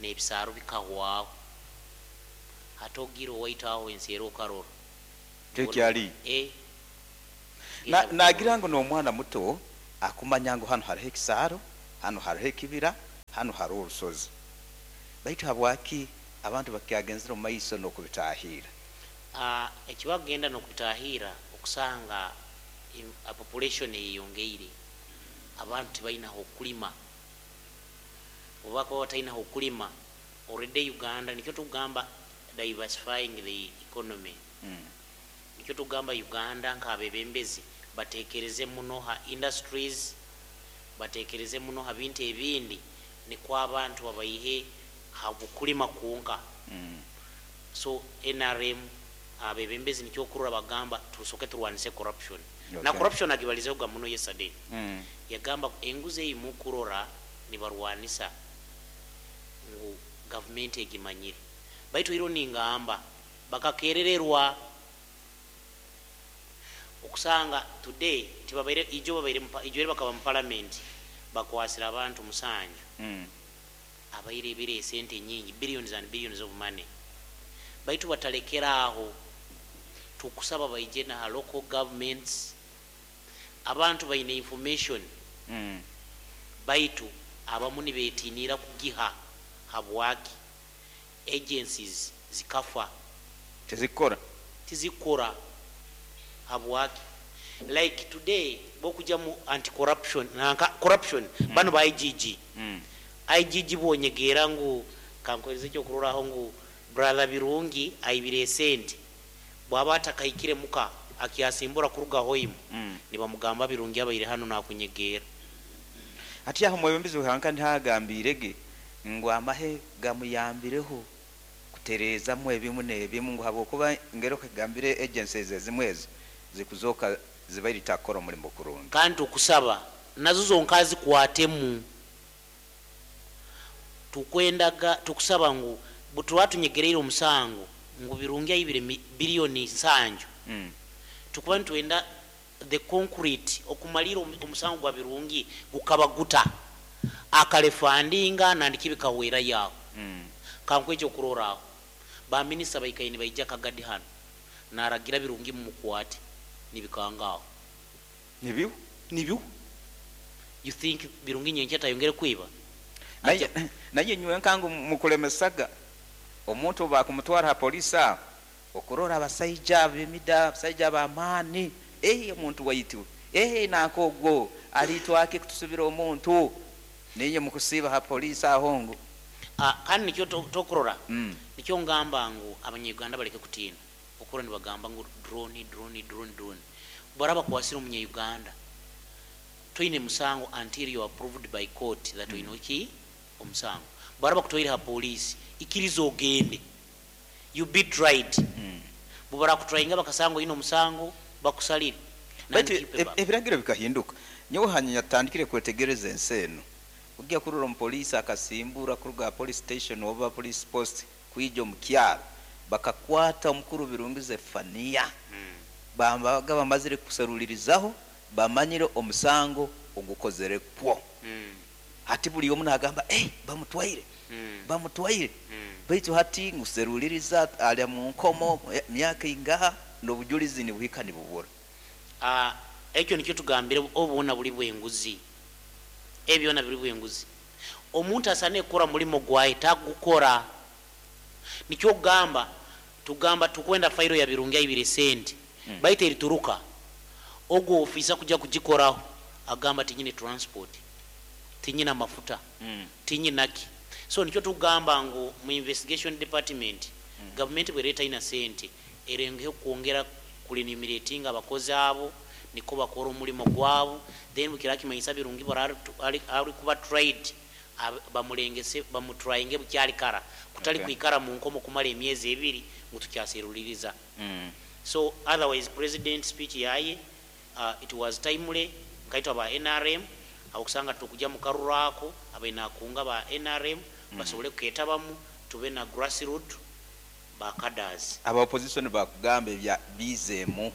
n'ebisaaro bikahwaho. Hati ogira owaitu aho ensi era okarora. Tekyali. Nagira ngu n'omwana muto akumanya ngu hanu hariho ekisaaro, hanu hariho ekibira, hanu hariho orusozi. Baitu habwaki abantu bakyagenzere omu maiso n'okubitahiira? Ekibakugenda n'okubitahiira, okusanga population eyeyongeire, abantu tibaina hokulima. Obu bakuba bataina hokulima, already Uganda nikyo tukugamba diversifying the economy. Nikyo tugamba Uganda nk'abebembezi batekereze muno ha industries, batekereze muno ha bintu ebindi, nikwo abantu babaihe ha bukulima kwonka. So NRM abebembezi nikyo okurora bagamba tusoke turwanise corruption. Na corruption agibalizeho muno yesterday. Yagamba enguzi eyi mukurora nibarwanisa ngu gavumenti egimanyire, baitu iro ningamba bakakerererwa okusanga today tibabaire ijo babaire ijo bakaba mu parliament bakwasira abantu 7 abaire ebire esente nyingi, billions and billions of money, baitu batalekera aho. Tukusaba baije na local governments, abantu baine information, baitu abamu nibetinira kugiha. Habwaki? Agencies zikafa, tizikora, tizikora. Habwaki? Like today bokuja mu anti corruption nanka corruption, bano ba IGG, IGG bonyegera ngu kankwerize ekyokuroraho ngu brother Birungi aibire esente, bwaba atakahikire muka akyasimbura kuruga hoimu, nibamugamba Birungi abaire hano nakunyegera. Ati aho mwebembezi hanka ntihagambirege ngu amahe gamuyambireho kutereezamu ebimu n'ebimu, ngu habwokuba ngero kagambire agencies ezimwe ezo zikuzoka zibaire takora omulimo kurungi. Kandi tukusaba nazo zonka zikwatemu. Tukwendaga tukusaba ngu butuba tunyegereire omusango ngu Birungi aibire biliyoni 7, tukuba nitwenda the concrete okumalira omusango gwa Birungi gukaba guta akalefandinga nandiki bikahwera yaho. Kankwekyo okuroraho baminisita baikaire nibaija Kagadi hano naragira Birungi mumukwate nibikangaho. Nibiu. Nibiu. You think Birungi nyenkya tayongere kwiba? Naye nywe nkangu mukulemesaga omuntu bakumutwara ha polisi aho okurora abasaija b'emida, abasaija b'amaani, omuntu waitu, nankogwo alitwake kutusubira omuntu ninye mukusiba ha polisi aho ngu. Kandi nikyo tokurora, nikyo ngamba ngu abanyayuganda baleke kutiina okura nibagamba ngu drone, drone, drone, drone. Baraba kwasira omunyayuganda toine musango until you are approved by court that oine ki omusango. Baraba kutoire ha polisi, ikiriza ogende you be tried. Bubara kutrayinga bakasanga oine omusango bakusalire. Baitu ebiragiro bikahinduka. Nyowe hanyuma yatandikire kwetegereza ensi eno, ojja kurora omupoliisi akasimbura kuruga police station oba police post kwija omu kyaro, bakakwata omukuru Birungi Zefaniya, bambaga bamazire kuserulirizaho bamanyire omusango ogukozere kwo. Hati buli omu nagamba bamutwaire, bamutwaire. Baitu hati nguseruliriza ali mu nkomo myaka ingaha n'obujulizi nibuhika nibubura. Ekyo nikyo tugambire obubona buli bwenguzi, ebyona biri bwenguzi. Omuntu asane kukora mulimo gwaye tagukora. Nikyo kugamba tugamba tukwenda fairo ya Birungi aibire sente, baitu erituruka ogwo ofisa kuja kugikoraho agamba tinyine transport, tinyina mafuta, tinyinaki. So nikyo tugamba ngu mu investigation department, government bwereta ina sente erengeho kwongera kurenumerating abakozi abo niko bakora omulimo gwabo. Then bukira kimanyisa Birungi ari kuba tried, bamulengese bamutrayinge bukyali kara, kutali kwikara mu nkomo kumala emyezi 2 ngu tukyasiruliriza. So otherwise president speech yaye, it was timely. Nkaitwa ba NRM akusanga tukuja mukarurako abaina kunga ba NRM, basobole kuketabamu tube na grassroots ba cadres. Aba opposition bakugamba ebya bizemu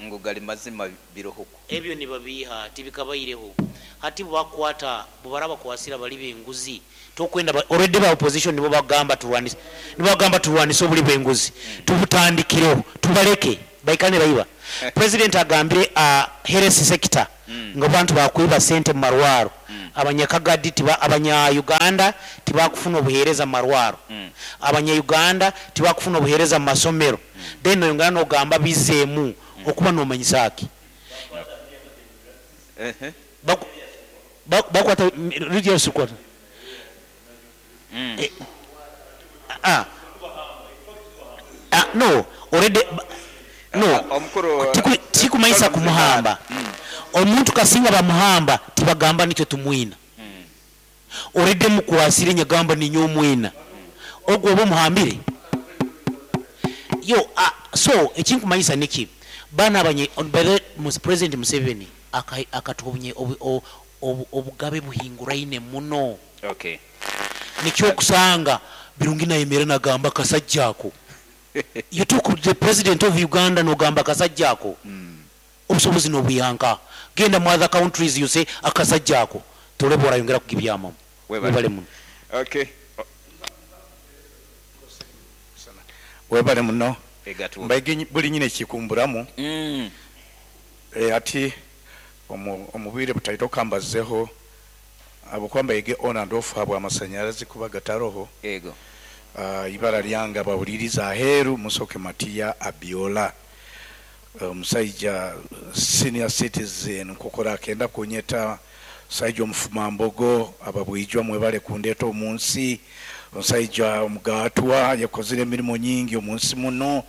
ngu gali mazima birohuko. Ebyo nibabiha tibikabaireho. Hati bwebakwata bwebara bakwasira bali benguzi, tokwenda already ba opposition nibo bagamba turwanise, nibo bagamba turwanise obuli bwenguzi, tubutandikireho tubaleke baikane baiba. President agambire a health sector nga abantu bakwiba sente mu marwaro, abanyakagadi tiba, abanya Uganda tibakufuna obuhereza mu marwaro, abanya Uganda tibakufuna obuhereza mu masomero. Then oyongera nogamba bizemu okuba nomanyisa ki? Bakwata religious kwata. No, already no. Omukuru, Tikumaisa kumuhamba. Omuntu kasinga bamuhamba tibagamba nikyo tumwina. Already mukwasire nyagamba ninyo omwina. Ogwo oba omuhambire. Yo, so ekinkumanyisa niki? Bana abanye, by the President Museveni akatubunye obugabe buhinguraine muno. Nikyo kusanga Birungi nayemera nagamba kasajjako. You took the president of Uganda nogamba kasajjako. Obusobozi nobuyanka. Genda mu other countries you say akasajjako. Tolebo orayongera kugibyama. Webale. Webale muno. Webale muno. Egatu. Mbaige buli nyine kikumburamu. Ati omubire butaito kambazeho abo kwamba ege on and off habwa amasanyarazi kuba gataroho. Ibara lyanga bawuliriza aheru Musoke Matia Abiola. Omusajja senior citizen nkokora akenda kunyeta omusajja omufumambogo ababwijwa mwebale kundeeta omunsi, omusajja omugatwa yakozire emirimu nyingi omunsi muno.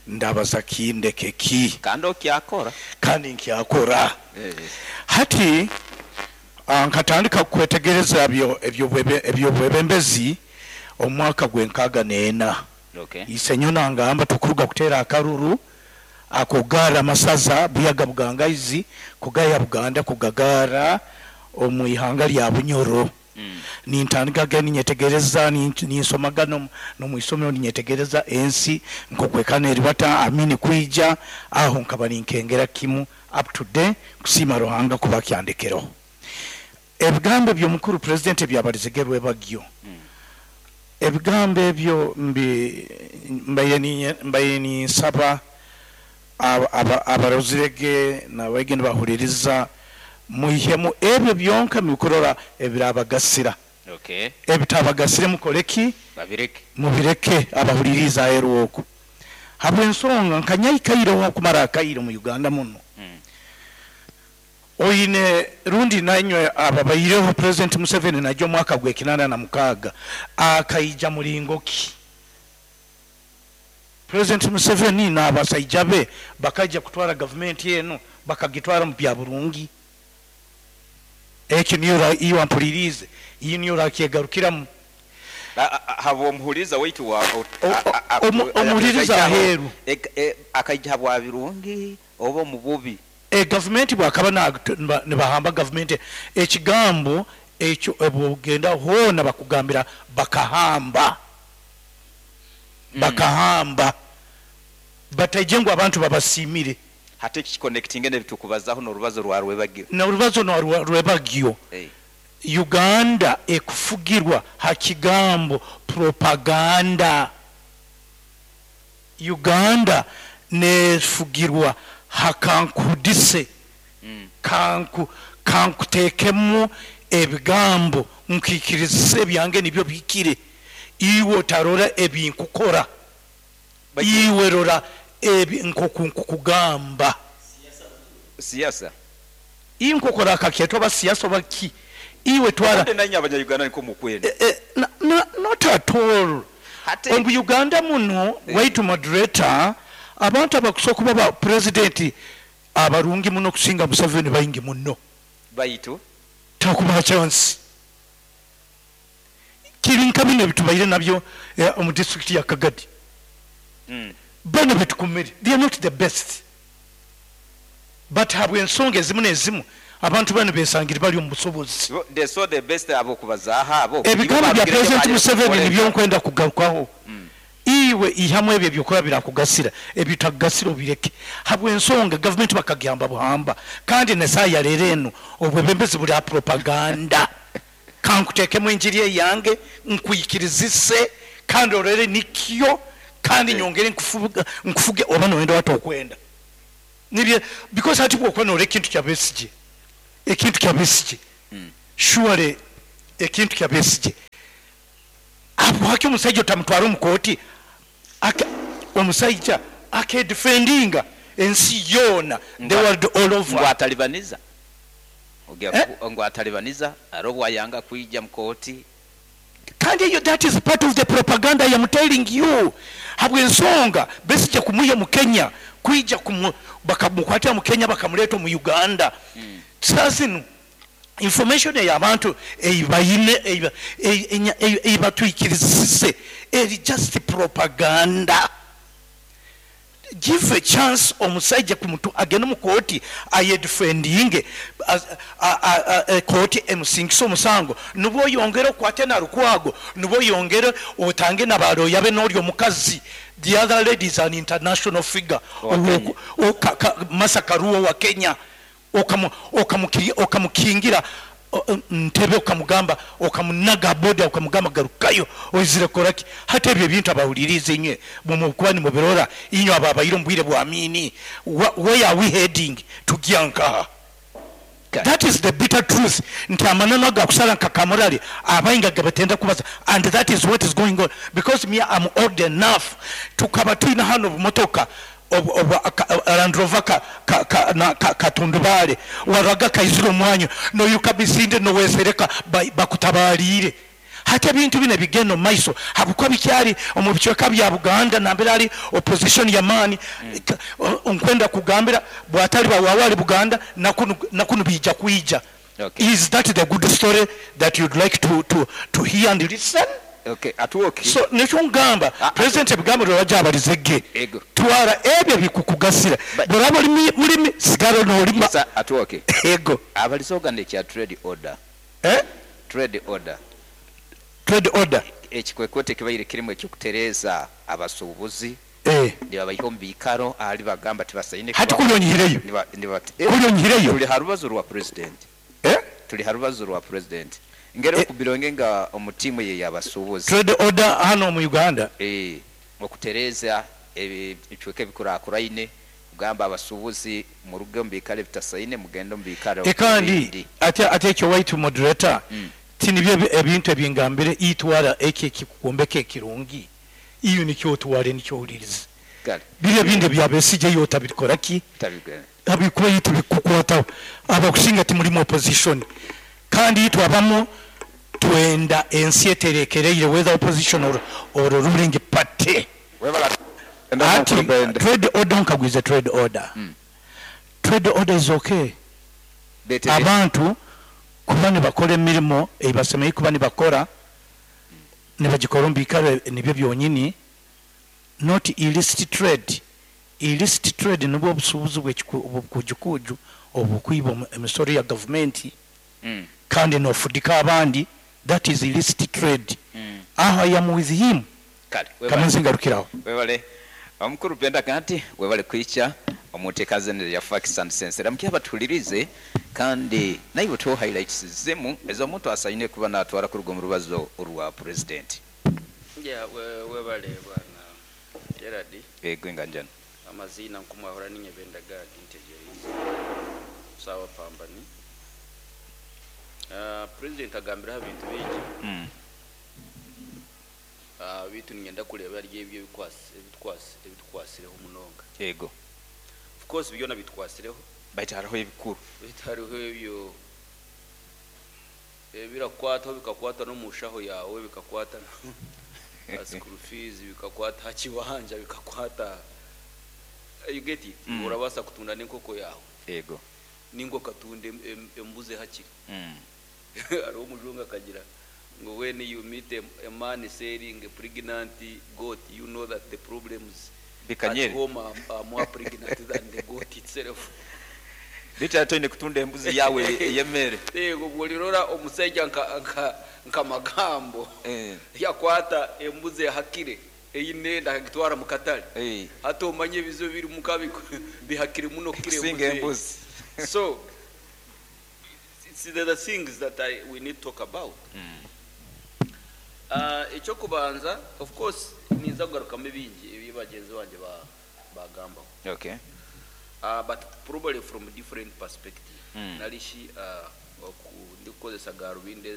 Ndabaza kindeke ki? Kandi okyakora. Kandi nkyakora. Hati nkatandika kwetegereza ebyobwebembezi omwaka gwenkaaga n'ena. Isenyo nangamba tukuruga kuteera akaruru akogara masaza buyaga bugangaizi kugaya Buganda kugagara omu ihanga lya Bunyoro. Nintandika ge ninyetegereza, ninsomaga no mu isomero ninyetegereza ensi nkokwekana eribata amini kwija aho nkaba ninkengera kimu up to day kusima Ruhanga kuba kyandekero. Ebigambo by'omukuru president byabalizegerwe bagyo. Ebigambo ebyo mbaye ninsaba abarozirege n'abagenda bahuririza muhemu ebyo byonka mikorora ebirabagasira. Ebitabagasire mukoleki? Babireke. Mubireke abahuririza eroko. Habwe ensonga nkanyayikairo kumara akairo mu Uganda muno. Oine rundi nanywe ababayireho President Museveni najyo mwaka gwe 86 akaija mulingo ki? President Museveni n'abasajja be bakaija kutwara government yenu bakagitwara mu bya burungi. Ekyo niyo iyo ampulirize, iyo niyo rakyegarukiramu. Habo omuhuriza waitu wa, Omuhuriza aheru. Akaija bwa birungi oba mu bubi. Government bwakaba nibahamba government ekigambo ekyo ebugenda hona bakugambira bakahamba. Bakahamba. Batajengwa abantu babasimire. Hate kiconnecting ne bitukubazaho no rubazo rwa rwebagyo. Na rubazo no rwebagyo. Uganda ekufugirwa hakigambo propaganda. Uganda nefugirwa hakankudise. Kankutekemu ebigambo nkikirizise byange nibyo bikire. Iwe tarora ebinkukora. Iwe rora ebi nkokugamba. Siasa. Inkokora akaketwa ba siasa baki. Iwe twara. Ate nanya abanya Uganda niko mukwenda. Not at all. Omu Uganda muno waitu moderator abantu abakusoka baba president abarungi muno kusinga Museveni bayingi muno. Baitu takuba chance. Kirinka bino bitubaire nabyo omu district ya Kagadi. Bano betukumire, they are not the best. But habwe ensonga ezimu n'ezimu abantu bano besangire bali omu busobozi. They saw the best abo kubazaha abo. Ebigambo bya President Museveni nibyo nkwenda kugarukaho. Iwe ihamu ebyo ebyokuba birakugasira, ebitakugasira obireke. Habw'ensonga gavumenti bakagihamba buhamba, kandi n'esaaha ya leero enu obwebembezi buli ha propaganda. Kankuteekemu enjiri eyange nkwikirizise kandi orole nikyo, kandi nyongere nkufuge oba noyenda oba tokwenda. Nibyo, because hati bwokuba norora ekintu kya Besigye, ekintu kya Besigye, surely ekintu kya Besigye, habwaki omusaija otamutwara omu kooti? Omusaija akedefendinga ensi yoona, the world all over. Ngu atalibaniza. Ngu atalibaniza, aroho bwayanga kwija mu kooti. Kandi eyo that is part of the propaganda I am telling you. Habw'ensonga Besigye kumwiha mu Kenya, kwija bakamukwatira mu Kenya bakamuleeta omu Uganda. Saa zinu information ey'abantu eibaine, eibatwikirizise eri just propaganda. Give a chance omusaija kumutu agende mu kooti ayedefendinge, kooti emusingise omusango, nubwo oyongere okwate na Lukwago, nubwo oyongere otange na baloya be n'ori omukazi. The other lady is an international figure. Martha Karua wa Kenya. Okamukingira ntebe, okamugamba, okamunaga boda, okamugamba garukayo oizire koraki. Hati ebyo ebintu abahulirize inywe mukuba nimubirora inywe abo abaire omu bwire bwa Amini. Where are we heading? Tugya nkaha? That is the bitter truth. Nti amananu agakusala nka kamurali abainga gabatenda kubaza, and that is what is going on, because me am old enough tukaba twina hano obumotoka Land Rover katundubale waraga kaizira omwanya noyuka bisinde nowesereka bakutabalire. Hati ebintu bino bigenda omu maiso habwokuba bikyali omu bicweka bya Buganda nambere ali opposition ya maani. Nkwenda kugambira bwatali bawawali Buganda nakunu bija kuija. Is that the good story that you'd like to hear and listen? Okay, atuoke. So nikyo ngamba president ebigambo lwajja abalizege. Twara ebyo bikukugasira. Bw'oraba oli mulimi sigara n'olima. Atuoke. Ego. Abalizoga ne kya trade order. Trade order. Trade order. Ekikwekwete kibaire kirimu ekyokutereza abasuubuzi. Nibabayiha omu biikaro ahali bagamba tibasaine. Hati kulyonyihireyo. Kulyonyihireyo. Tuli ha rubazo rwa president. Tuli ha rubazo rwa president. Ngero okubironge nga omutimu ye yabasuubuzi. Trade order hano mu Uganda. Okutereza ebicweka ebikurakuraine kugamba abasuubuzi muruge omu biikaro ebitasaine mugende omu biikaro. Kandi ate ekyo white moderator. Tinibyo ebintu ebingambire itwara eki ekikukombeka ekirungi. Iyo nikyo otware nikyo uliriza. Biriya bindi bya Besigye yo otabikora ki? Abikuba yitu bikukwataho. Abakusinga timuri opposition. Kandi itwabamo twenda ensi eterekereire whether opposition or ruling party. Ati trade order nkagwize trade order. Trade order is okay. Abantu kuba nibakora emirimo ebasemeye kuba nibakora nibagikora omu biikaro nibyo byonyini, not illicit trade. Illicit trade nibwo obusuubuzi bw'ekikujukuju obukwiba emisoro ya gavumenti kandi nofudika abandi, that is illicit trade. Aho I am with him. Kamanzi ngarukiraho. Webale omukuru Benda Gati, webale kwicha omuteekaze ya Facts and Sense. Ramkia batulirize kandi naiwe to highlights zimu ez'omuntu asaine kuba natwara kuruga mu rubazo rwa president. Yeah, webale bwana Gerard. Ego nganjana. Amazina nkumwahora ninye Benda Gati ntegereza. Sawa pambani. President agambira ebintu bingi. Bitu ngenda kuleba ari ebyo ebitwasireho munonga. Ego. Of course byona bitwasireho. Baitu hariho ebikuru. Baitu hariho ebyo ebirakwata bikakwata no mushaho yawe bikakwata school fees bikakwata kiwanja bikakwata, you get it. Urabasa kutunda n'inkoko yawe. Ego. Ningo katunde embuze hakiri. Ari omujunga kagira ngo when you meet a man selling a pregnant goat, you know that the problems at home are more pregnant than the goat itself. Bicha toine kutunda embuzi yawe yemere. Yego bulirora omusajja nka magambo. Yakwata embuzi hakire. Eine enda akagitwara mu katale. Hati omanye ebizibu biri muka bihakire muno kukira Kusinga embuzi. Embuzi. So it's the things that we need to talk about. Ekyokubanza, of course, ninza kugarukamu ebingi ebi bagenzi bange bagambaho, but probably from different perspective, narishi ndikukozesa garubindi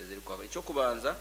eziri kwaka. Ekyokubanza